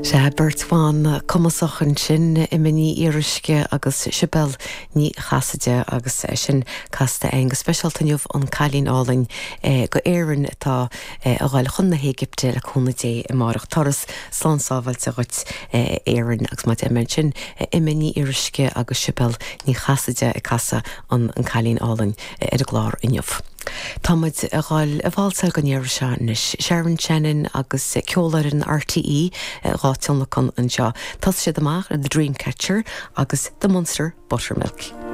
Sea, beirt bhan cumasach ansin, Emma Ní Fhíoruisce agus Sibéal Ní Chasaide agus sin casta againn go speisialta inniu, An Cailín Álainn go Éirinn atá a dhul chun na hÉigipte le cúnamh Dé amárach. Turas slán sábháilte dhuit a Éirinn agus mar a deir mé ansin, Emma Ní Fhíoruisce agus Sibéal Ní Chasaide ag casadh an An Cailín Álainn ar an gclár inniu. Tá muid a dhul ag válsáil don iarraidh seo anois. Sharon Shannon agus Ceolfhoireann RTÉ dhá tionlacan anseo. Thosaigh siad amach le The Dreamcatcher agus The Munster Buttermilk.